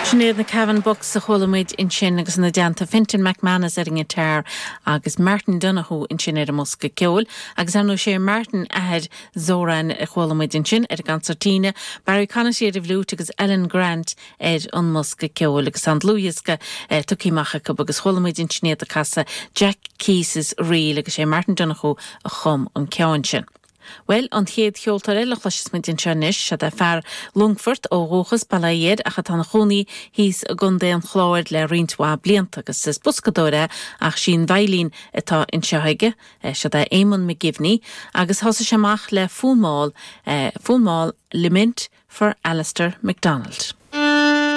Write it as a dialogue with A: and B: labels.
A: Sin iad na Cavan Bucks a chuala muid ansin agus ina dteannta Fintan McManus ar an ngiotár agus Martin Donohoe ansin ar an mbosca ceoil. Agus ar ndóigh sé Martin athair Zoran a chuala muid ansin ar an gconsairtín, Barry Conaty ar an bhfliúit agus Alan Grant ar an mbosca ceoil agus tá an dlúthdhiosca tugtha amach acu agus chuala muid ansin iad ag casadh Jack Keyes's Reel agus sé Martin Donohoe a chum an ceann sin. Bhuel, an chéad cheoltóir eile a chloisfeas muid anseo anois, seod é fear Longfoirt ó dhúchas, Baile Átha Fhirdh, ach atá ina chónaí thíos i gContae an Chláir le roinnt mhaith blianta, agus is boscadóir é, ach sí an veidhlín atá anseo aige. Seod é Éamonn McGivney, agus thosaigh sé amach le fonn mall, fonn mall Lament for Alistair McDonald.